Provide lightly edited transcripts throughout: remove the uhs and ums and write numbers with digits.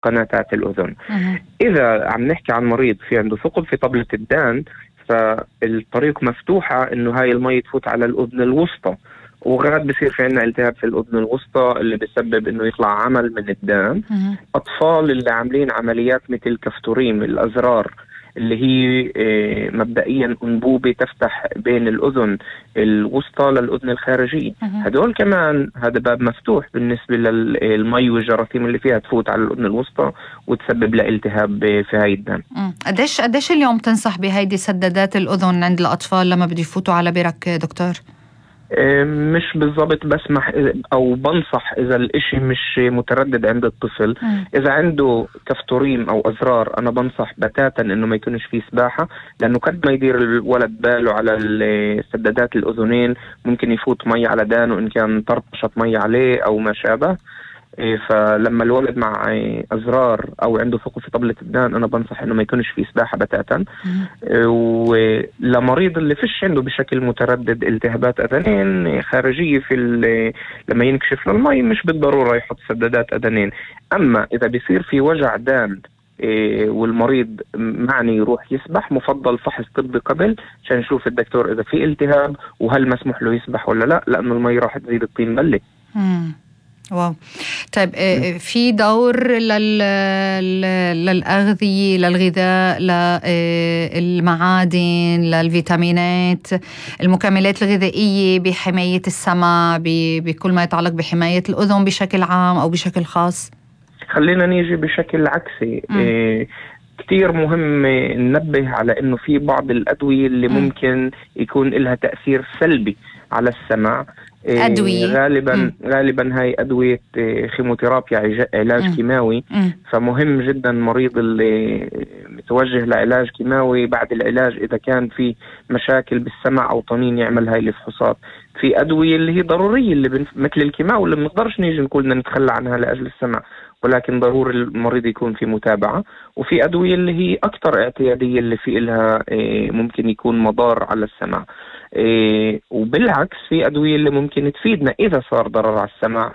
قناتات الأذن. إذا عم نحكي عن مريض في عنده ثقب في طبلة الدان، فالطريق مفتوحة إنه هاي المي تفوت على الأذن الوسطى، وغاد بصير في عنا التهاب في الأذن الوسطى اللي بيسبب إنه يطلع عمل من الدم. أطفال اللي عاملين عمليات مثل كفتوريم الأزرار اللي هي مبدئيا أنبوبة تفتح بين الأذن الوسطى للأذن الخارجية، هدول كمان هذا باب مفتوح بالنسبة للمي والجراثيم اللي فيها تفوت على الأذن الوسطى وتسبب لها التهاب في هاي الدم. قديش اليوم تنصح بهيدي سدادات الأذن عند الأطفال لما بده يفوتوا على برك دكتور؟ مش بالضبط بسمح أو بنصح إذا الإشي مش متردد عند الطفل. إذا عنده كفتوريم أو أزرار أنا بنصح بتاتا إنه ما يكونش فيه سباحة، لأنه قد ما يدير الولد باله على سدادات الأذنين ممكن يفوت مي على دانه إن كان طرطشت مي عليه أو ما شابه. فلما الولد مع أزرار أو عنده ثقب في طبلة الدان أنا بنصح إنه ما يكونش فيه سباحة بتاتا. ولمريض اللي فيش عنده بشكل متردد التهابات أذنين خارجية لما ينكشف للمي مش بالضرورة يحط سدادات أذنين. أما إذا بيصير في وجع دان والمريض معني يروح يسبح، مفضل فحص طبي قبل عشان نشوف الدكتور إذا في التهاب وهل مسموح له يسبح ولا لا، لأنه المي راح تزيد الطين بلة. واو. طيب في دور للأغذية، للغذاء، للمعادن، للفيتامينات، المكملات الغذائية بحماية السمع، بكل ما يتعلق بحماية الأذن بشكل عام أو بشكل خاص؟ خلينا نيجي بشكل عكسي. كتير مهم ننبه على إنه في بعض الأدوية اللي ممكن يكون لها تأثير سلبي على السمع. أدوية غالبا هاي أدوية خيموثيرابيا، علاج كيماوي. فمهم جدا المريض اللي متوجه لعلاج كيماوي بعد العلاج إذا كان في مشاكل بالسمع أو طنين يعمل هاي الفحوصات. في أدوية اللي هي ضرورية اللي مثل الكيماوي اللي بنقدرش نيجي نقول نتخلى عنها لأجل السمع، ولكن ضروري المريض يكون في متابعة. وفي أدوية اللي هي أكثر اعتيادية اللي في إلها ممكن يكون مضار على السمع. وبالعكس في أدوية اللي ممكن تفيدنا إذا صار ضرر على السمع.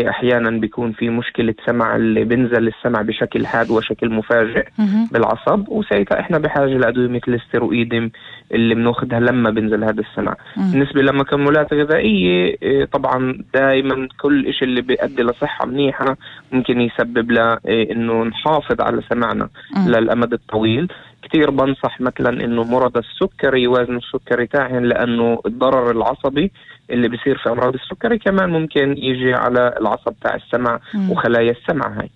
أحيانا بيكون في مشكلة سمع اللي بنزل السمع بشكل حاد وشكل مفاجئ بالعصب، وساعتها إحنا بحاجة لأدوية مثل الستيرويدم اللي بناخدها لما بنزل هذا السمع. بالنسبة لمكملات غذائية طبعا دائما كل إشي اللي بيؤدي لصحة منيحة ممكن يسبب له إنه نحافظ على سمعنا للأمد الطويل. كتير بنصح مثلا إنه مرضى السكري وزن السكري تاعهم، لأنه الضرر العصبي اللي بيصير في أمراض السكري كمان ممكن يجي على العصب تاع السمع وخلايا السمع هاي.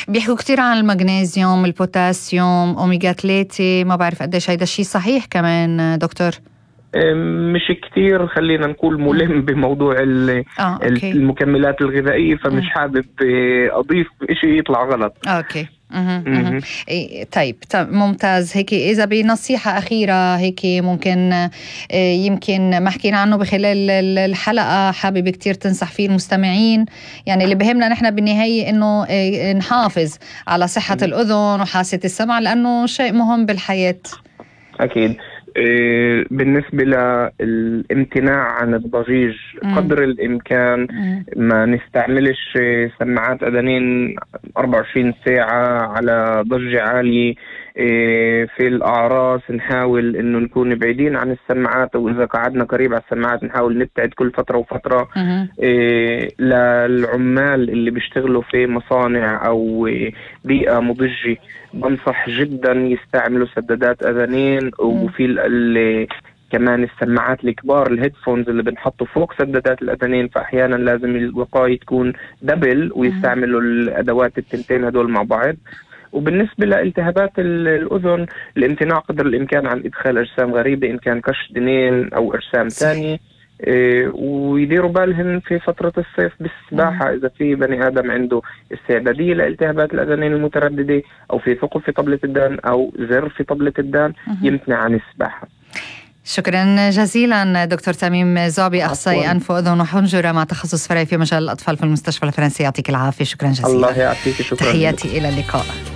بيحكوا كتير عن المغنيسيوم، البوتاسيوم، أوميغا 3، ما بعرف قديش هيدا الشيء صحيح كمان دكتور؟ مش كتير خلينا نقول ملم بموضوع المكملات الغذائية، فمش حابب أضيف إشي يطلع غلط. أوكي. طيب ممتاز. هيك إذا بنصيحة أخيرة هيك ممكن يمكن ما حكينا عنه بخلال الحلقة حابب كتير تنصح فيه المستمعين، يعني اللي بهمنا نحن بالنهاية إنه نحافظ على صحة الأذن وحاسة السمع لأنه شيء مهم بالحياة. أكيد. بالنسبة للامتناع عن الضجيج قدر الإمكان، ما نستعملش سماعات أذنين 24 ساعة على ضجة عالية. في الأعراس نحاول إنه نكون بعيدين عن السماعات، وإذا قعدنا قريب على السماعات نحاول نبتعد كل فترة وفترة. للعمال اللي بيشتغلوا في مصانع أو بيئة مضجة بنصح جدا يستعملوا سدادات أذنين. وفي كمان السماعات الكبار الهيدفونز اللي بنحطوا فوق سدادات الأذنين، فأحيانا لازم الوقاية تكون دبل ويستعملوا الأدوات التنتين هدول مع بعض. وبالنسبة لالتهابات الأذن الامتناع قدر الإمكان عن إدخال أجسام غريبة إن كان كش دنين أو أجسام تانية. ويديروا بالهم في فترة الصيف بالسباحة إذا في بني آدم عنده استعدادية لالتهابات الأذنين المترددة أو في ثقب في طبلة الدان أو زر في طبلة الدان يمتنع عن السباحة. شكرا جزيلا دكتور تميم زعبي، أخصائي أنف وأذن وحنجرة مع تخصص فرعي في مجال الأطفال في المستشفى الفرنسي. يعطيك العافية. شكرا جزيلا. الله يعافيك. شكرا. تحياتي إلى اللقاء.